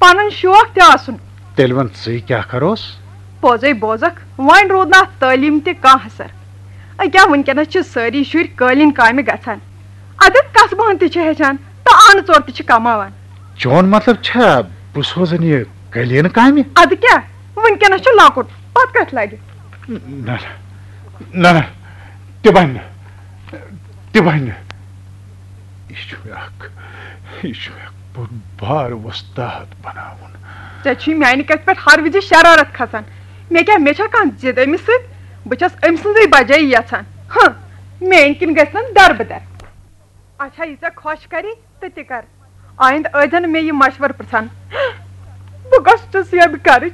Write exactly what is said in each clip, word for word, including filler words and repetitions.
پنُن شوق تہِ آسُن۔ تیٚلہِ وَن ژٕے کیٛاہ کَروس؟ پوٚزَے بوزَکھ، وۄنۍ روٗد نہٕ اَتھ تعلیٖم تہِ کانٛہہ اثر۔ أکیٛاہ وٕنکیٚنَس چھِ سٲری شُرۍ قٲلیٖن کامہِ گژھان۔ اَدٕ کَسبہٕ ہن تہِ چھِ ہیٚچھان تہٕ اَنہٕ ژور تہِ چھِ کماوان۔ چون مطلب چھا بہٕ سوزَن یہِ قٲلیٖن کامہِ؟ اَدٕ کیٛاہ، وٕنکیٚنَس چھُ لۄکُٹ، پَتہٕ کَتھ لَگہِ؟ نہ، نہ، نہ، نہ، تہِ بَنہِ نہٕ، تہِ بَنہِ نہٕ۔ یہِ چھُ مےٚ اکھ، یہِ چھُ مےٚ اکھ بوٚڑ بار وۄستاد بناوُن۔ ژےٚ چھُے میانہِ کتھِ پٮ۪ٹھ ہر وِزِ شرارت کھسان۔ مےٚ کیٛاہ، مےٚ چھا کانٛہہ ضد أمِس سۭتۍ؟ بہٕ چھَس أمۍ سٕنٛزٕے بجایہِ یژھان۔ ہہ، میٲنۍ کِنۍ گژھِ نہٕ دربٕدر۔ اچھا، یہِ ژےٚ خۄش کری تہٕ تہِ کر۔ آیندٕ ٲسۍزٮ۪ن مےٚ یہِ مشورٕ پرژھان۔ بہٕ کۄس چھُس یَتھ گرٕچ؟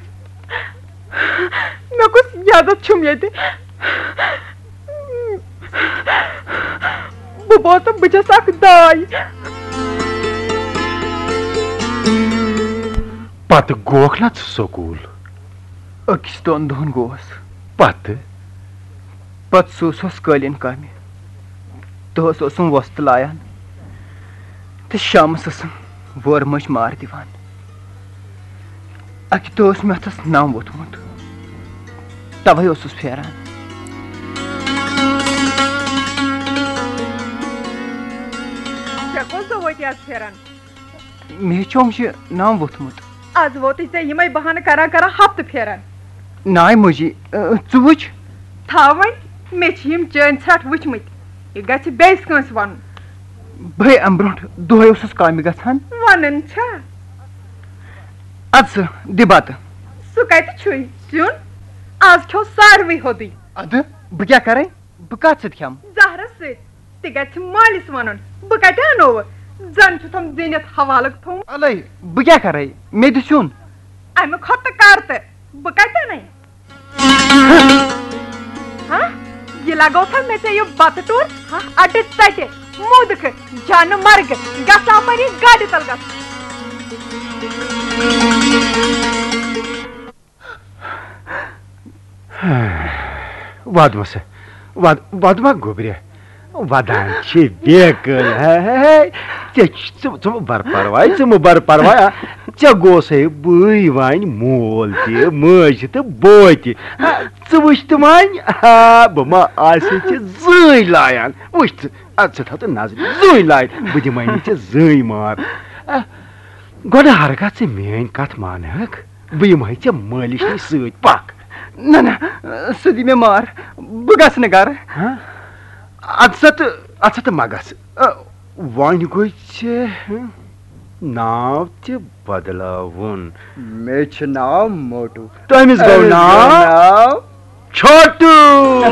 مےٚ کُس عزت چھُم ییٚتہِ؟ بہٕ بوزٕ، بہٕ چھَس اکھ داے۔ پتہٕ گوکھ نا ژٕ سکوٗل؟ أکِس دۄن دۄہن گوس۔ پتہٕ؟ پتہٕ سوٗزہوس قٲلیٖن کامہِ۔ دۄہس اوسُم وۄستہٕ لایان تہٕ شامس ٲسٕم وٲر مٔنٛزۍ مار دِوان۔ اکہِ دۄہ اوس مےٚ اتھس نم ووٚتھمُت، توے اوسُس پھیران۔ ژےٚ کۄس دۄہ وٲتی از پھیران؟ مےٚ ہیٚچھوم یہِ نم ووٚتھمُت۔ از ووتُے ژےٚ یِمے بہانہٕ کران کران ہفتہٕ پھیران۔ ناے مٔجی، ٲ، ژٕ وٕچھ۔ تھاو وۄنۍ، مےٚ چھِ یِم چٲنۍ ژھرٹھ وٕچھمٕتۍ۔ یہِ گژھِ بیٚیِس کٲنٛسہِ وَنُن۔ بہٕ ہے اَمہِ برونٛٹھ دۄہے اوسُس کامہِ گژھان۔ وَنان چھا؟ اَدٕ سا، دِ بَتہٕ۔ سُہ کَتہِ چھُے سیُن؟ از کھیوٚو ساروٕے ہوٚدُے۔ اَدٕ بہٕ کیٛاہ کَرَے؟ بہٕ کَتھ سۭتۍ کھٮ۪مہٕ؟ زہرس سۭتۍ۔ تہِ گژھِ مٲلِس وَنُن، بہٕ کَتہِ اَنووٕ؟ زَن چھُتھم زیٖنِتھ حوالہٕ تھوٚومُت۔ اَلَے، بہٕ کیٛاہ کَرَے؟ مےٚ دِ سیُن۔ اَمہِ کھۄتہٕ کَر تہٕ بہٕ کَتہِ اَنَے؟ ہا؟ یہِ لگوتھا مےٚ ژےٚ یہِ بتہٕ ٹوٗر؟ ہا، اَڈٕ ژَٹہِ، موٗدٕ کھٕ، جانہٕ مرگہٕ، گژھ اَپٲری گاڑِ تل گژھ۔ وَد مہ سا، وَد، وَد مہ گوٚبرِ۔ ودان چھِ بیکل، ہے، ہے، ہے۔ ژےٚ چھِ، ژٕ، ژٕ مہٕ بر پرواے، ژٕ مہٕ بر پرواے، آ، ژےٚ گوسے بٕے وۄنۍ مول تہِ، مٲج تہِ تہٕ بوے تہِ۔ آ، ژٕ وٕچھ تہٕ وۄنۍ، آ، بہٕ ما آسے ژےٚ زٕے لایان۔ وٕچھ ژٕ، اَدٕ ژٕ تھاو ژٕ نظرِ زٕے لایِتھ، بہٕ دِمے نہٕ ژےٚ زٕے مار۔ آ، گۄڈٕ ہرگاہ ژٕ میٲنۍ کتھ مانہٕ ہکھ، بہٕ یِمہٕ ہے ژےٚ مٲلِس نِش سۭتۍ، پکھ۔ نہ، نہ، سُہ دی مےٚ مار، بہٕ گژھٕ نہٕ گرٕ۔ ہاں؟ اَدٕ سا تہٕ، اَدٕ سا تہٕ مہ گژھ۔ ٲ، وۄنۍ گوٚے ژےٚ، ہہ، ناو تہِ بدلاوُن۔ مےٚ چھُ ناو موٹو۔ تٔمِس گوٚو أمِس گوٚو ناو؟ ناو چھوٹو۔